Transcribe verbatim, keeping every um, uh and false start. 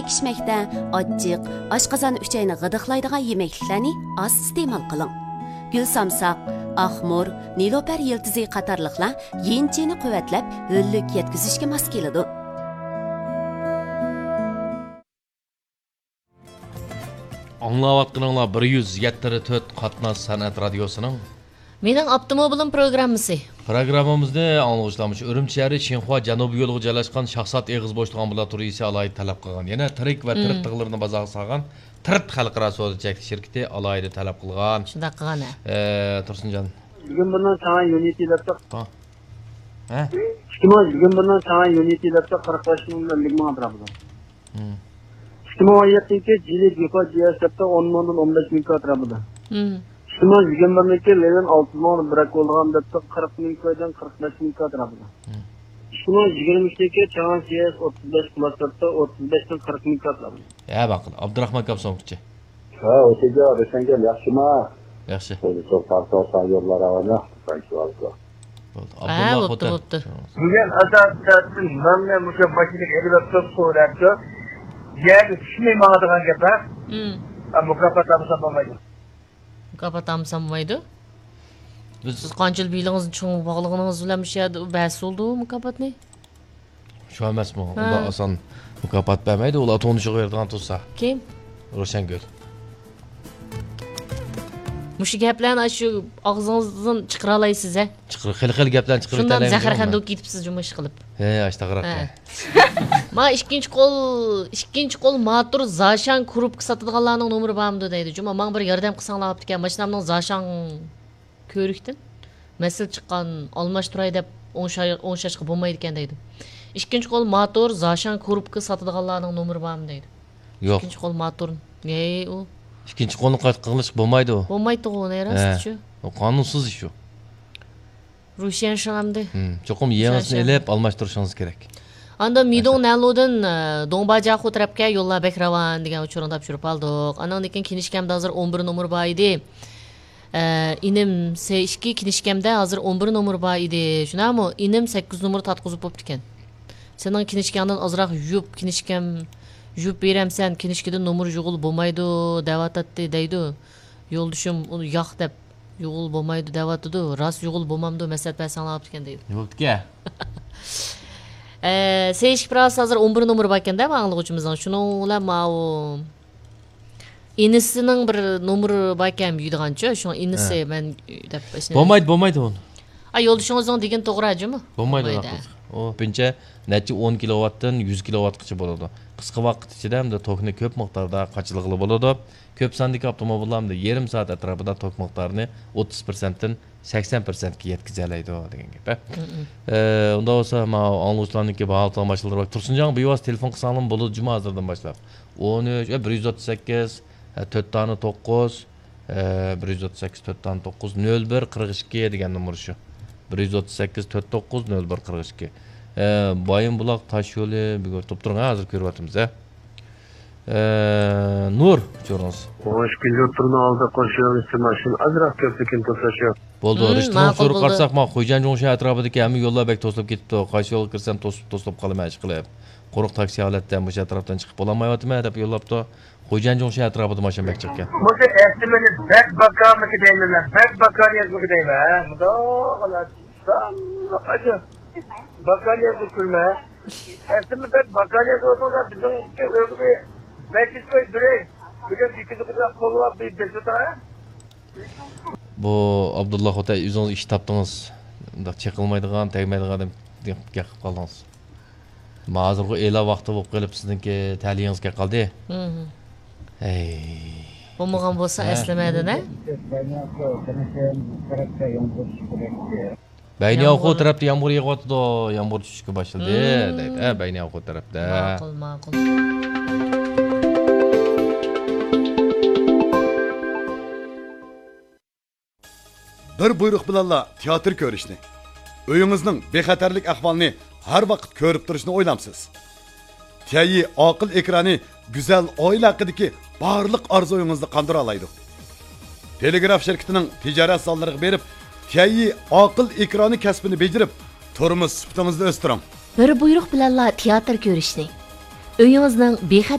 تېگىشمەكتە. ئاچچىق، ئاشقازان ئۈچەينى غىدىقلايدىغان يېمەكلىكلەرنى ئاز ئىستېمال قىلىڭ. گۈل سامساق، ئاخمۇر، نېلۇپەر يىلتىزى قاتارلىقلار يىنچىنى قۇۋۋەتلەپ، ھۆللۈك يەتكۈزۈشكە ماس كېلىدۇ. ئاڭلاۋاتقىنىڭلار بىر يۈز يەتتە تۆت قاتناش سەنئەت رادىيوسىنىڭ مېنىڭ ئاپتوموبىلىم پروگراممىسى. پروگراممىمىزنى ئاڭلىغۇچىلار مۇشۇ ئۈرۈمچى شەھىرى شىنخۇا جەنۇبىي يولىغا جايلاشقان شاھزات ئېغىز بوشلۇق ئامبۇلاتورىيىسى ئالاھىدە تەلەپ قىلغان. يەنە تىرىك ۋە تىرىت تىغلىرىنى بازارغا سالغان تىرىت خەلقئارا سودا چەكلىك شىركىتى ئالاھىدە تەلەپ قىلغان. شۇنداق قىلغان، ھە. ئە، تۇرسۇنجان. بۈگۈن بۇنىڭ چاڭ يۈنىتى دەپ ھا. ھە؟ ئىككى مىڭ يىگىرمە بىرنىڭ چاڭ يۈنىتى دەپتە قىرىق بەش مىڭ بىلەن ئەللىك مىڭ ئەتراپىدا. مم. ئىككى مىڭ ئون يەتتىنچى جىلى جىفا جىئەس دەپتە ئون مىڭدىن ئون بەش مىڭ ئەتراپىدا. مم. ئىككى مىڭ يىگىرمە بىرنىڭكى لېۋېن ئالتە مىڭ بىراك بولىدىغان دەپتە قىرىق مىڭ كويدىن قىرىق بەش مىڭ ئەتراپىدا. مم. ئىككى مىڭ يىگىرمە ئۈچتىكى چاڭ سىئەس ئوتتۇز بەش پلۇس دەپتە ئوتتۇز بەشتىن قىرىق مىڭ ئەتراپىدا. ھە، باققىن، ئابدۇراخمان كاپسونكىچە. ھە، ئوتىجا، روشەنگۈل ياخشىما؟ ياخشى. سەن يوللار راۋانە، سەن شۇ ھالدا. بولدى. ھە، ئابدۇللا بوپتۇ، خوتەن. بوپتۇ. بۈگۈن ئاساسىي تەرەپتىن مەنمۇ مۇشۇ ماشىنىغا ئېلىۋەپتۇ، سورەپتۇ. يەرگە چۈشمەي ماڭىدىغان گەپ، ھە؟ مم. ھە، مۇكاپات ئالمىسام بولمايدۇ. مۇكاپات ئالمىسام بولمايدۇ؟ بىز سىز قانچىلىك بېلىڭىزنى چوڭ باغلىغىنىڭىز بىلەن مۇشۇ يەردە بەرسە بولىدۇ مۇكاپاتنى. شۇ ئەمەسمۇ؟ ھە. ئۇنداق ئاسان مۇكاپات بەرمەيدۇ، ئۇلار تونۇشىغا بېرىدىغان تۇرسا. كىم؟ روشەنگۈل. مۇشۇ گەپلەرنى ئاشۇ ئاغزىڭىزدىن چىقىرالايسىز، ھە؟ چىقىر-، خېلى-خېلى گەپلەرنى چىقىرىۋېتەلەيمىز. شۇنداق زەھەرخەندە بولۇپ كېتىپسىز جۇمۇ ئىشقىلىپ. ھە، ئاشتاغراق. ھە. ما ئىككىنچى قول، ئىككىنچى قول ماتور زاشان كۇرۇپكا ساتىدىغانلارنىڭ نومۇرى بارمىدۇ دەيدۇ. جۇمۇ، ماڭا بىر ياردەم قىلساڭلار بوپتىكەن. ماشىنامنىڭ زاشان كۆرۈكتىن مەسىلە چىققان، ئالماشتۇراي دەپ ئوڭشاي-، ئوڭشاشقا بولمايدىكەن دەيدۇ. ئىككىنچى قول ماتور زاشان كۇرۇپكا ساتىدىغانلارنىڭ نومۇرى بارمۇ دەيدۇ. يوق. ئىككىنچى قول ماتور. ھەي، ئۇ. ئىككىنچى قولنى قايتا قىلىشقا بولمايدۇ. بولمايدىغۇ، نە راستچۇ. ھە. ئۇ قانۇنسىز ئىش ئۇ. روشەن شۇ ئەمدى. ھىم، چوقۇم يېڭىسىنى ئېلىپ ئالماشتۇرۇشىڭىز كېرەك. ئاندىن مىدوڭ نەنلۇدىن، ئە، دوڭباجياخۇ تەرەپكە يوللار بەك راۋان دېگەن ئۇچۇرنى تاپشۇرۇپ ئالدۇق. ئانىڭدىن كېيىن كىنىشكامدا ھازىر ئون بىر نومۇر بار ئىدى. ئە، ئىنىم سې ئىككى كىنىشكامدا ھازىر ئون بىر نومۇر بار ئىدى. شۇنداقمۇ؟ ئىنىم سەككىز نومۇر تارتقۇزۇپ بوپتىكەن. سېنىڭ كىنىشكاڭدىن ئازراق يۇيۇپ، كىنىشكام يۇيۇپ بېرەمسەن، كىنىشكىدىن نومۇر يۇغىلى بولمايدۇ دەۋاتاتتى دەيدۇ. يولدىشىم ئۇنى ياق دەپ يۇغۇل بولمايدۇ دەۋاتىدۇ، راست يۇغۇل بولمامدۇ، مەسلىھەت بەرسەڭلار بوپتىكەن دەيدۇ. بوپتىكەن. ئە، سېيىشكى پىراس ھازىر ئون بىر نومۇر باركەن-دە، ئاڭلىغۇچىمىزنىڭ. شۇنىڭ بىلەن ماۋۇ ئىنىسىنىڭ بىر نومۇرى باركەن، يۈيىدىغانچۇ، شۇڭا ئىنىسى ھە. مەن دەپ ئىسمىنى بولمايدۇ، بولمايدۇ ئۇنى. ئا، يولدىشىڭىزنىڭ دېگىنى توغرا جۇمۇ؟ بولمايدۇ، بولمايدۇ. ئۇنداق قىلسا. ئۇ كۆپىنچە نەچچە ئون كىلوۋاتتىن يۈز كىلوۋاتقىچە بولىدۇ. قىسقا ۋاقىت ئىچىدە ھەمدە توكنى كۆپ مىقداردا قاچىلىغىلى بولىدۇ. كۆپ ساندىكى ئاپتوموبىللار ھەمدە يېرىم سائەت ئەتراپىدا توك مىقدارىنى ئوتتۇز پىرسەنتتىن سەكسەن پىرسەنتكە يەتكۈزەلەيدۇ دېگەن گەپ. ھە. مم. ئە، ئۇنداق بولسا، ماۋۇ ئاڭلىغۇچىلارنىڭكى باھا قىلغان ماشىنىلىرى بار. تۇرسۇنجان، بىۋاسىتە تېلېفون قىلساڭلارمۇ بولىدۇ جۇمۇ ھازىردىن باشلاپ. ئون ئۈچ، ئە، بىر يۈز ئوتتۇز سەككىز، ئە، تۆت دانە توققۇز، ئە، بىر يۈز ئوتتۇز سەككىز، تۆت دانە توققۇز، نۆل بىر، قىرىق ئىككى دېگەن نومۇر شۇ. بىر يۈز ئوتتۇز سەككىز، تۆت توققۇز، نۆل بىر، قىرىق ئىككى. ئە، بايىنبۇلاق تاش يولى، بۈگۈن تۇرۇپ تۇرۇڭ، ھە، ھازىر كۆرۈۋاتىمىز، ھە. ئە، نۇر، ئۇچۇرىڭىز. ئون ئىككىنچى ئوتتۇرىنىڭ ئالدىدا قوشۇۋېرىڭىز، ماشىنا ئازراق كۆپلۈكىنى توساشۇ. بولدى، ھىم، رىشتىنىڭ ماقۇل ئۇچۇرى بولدى. قارىساق، ما، خۇيجەن جۇڭشەن ئەتراپىدىكى ھەممە يوللار بەك توسۇلۇپ كېتىپتۇ. قايسى يولغا كىرسەم توسۇپ، توسۇلۇپ قالىمەن، ئىشقىلىپ. قۇرۇق تاكسى ھالەتتە مۇشۇ ئەتراپتىن چىقىپ بولالمايۋاتىمەن، دەپ يوللاپتۇ. خۇيجەن جۇڭشەن ئەتراپىدا ماشىنا بەك جىقكەن. مۇشۇ ئەسلىمىنى بەك باكارمىكى دەيمەن مەن، بەك باكار يازمىكى دەيمەن، ھە؟ مۇنداق ئاجا. باكار يازدى كۈلمە. ئەسلىمە بەك باكار يازىۋاتىڭلار، بىزنىڭ ئۆيگە بىر بەش يۈز كوي بېرەي. بۈگۈن ئىككى يۈز كوي قوللاپ بىر بېسىۋېتىڭ، ھە؟ بۇ ئابدۇللا خوتەن، ئۆزىڭىز ئىش تاپتىڭىز. مۇنداق چېقىلمايدىغان، تەگمەيدىغان ئادەم گەپ قىلىپ قالدىڭىز. ما ھازىرغۇ ئېلان ۋاقتى بولۇپ قېلىپ، سىزنىڭكى تەلىيىڭىز كەپ قالدى. مم. ھەي. بولمىغان بولسا ھە. ئەسلىمەدىن، ھە؟ بەينىياۋخۇ تەرەپتە يامغۇر يېغىۋاتىدۇ، يامغۇر چۈشۈشكە باشلىدى، مم. دەيدۇ. ھە، بەينىياۋخۇ تەرەپتە. ماقۇل، ماقۇل. بىر بۇيرۇق بىلەنلا تىياتىر كۆرۈشنى، ئۆيىڭىزنىڭ بىخەتەرلىك ئەھۋالىنى ھەر ۋاقىت كۆرۈپ تۇرۇشنى ئويلامسىز؟ تيەيي ئاقىل ئېكرانى گۈزەل ئائىلە ھەققىدىكى بارلىق ئارزۇيىڭىزنى قاندۇرالايدۇ. تېلېگراف شىركىتىنىڭ تىجارەت زاللىرىغا بېرىپ، تيەيي ئاقىل ئېكرانى كەسپىنى بېجىرىپ، تۇرمۇش سۈپىتىڭىزنى ئۆستۈرۈڭ. بىر بۇيرۇق بىلەنلا تىياتىر كۆرۈشنى، ئۆيىڭىزنىڭ بىخەتەر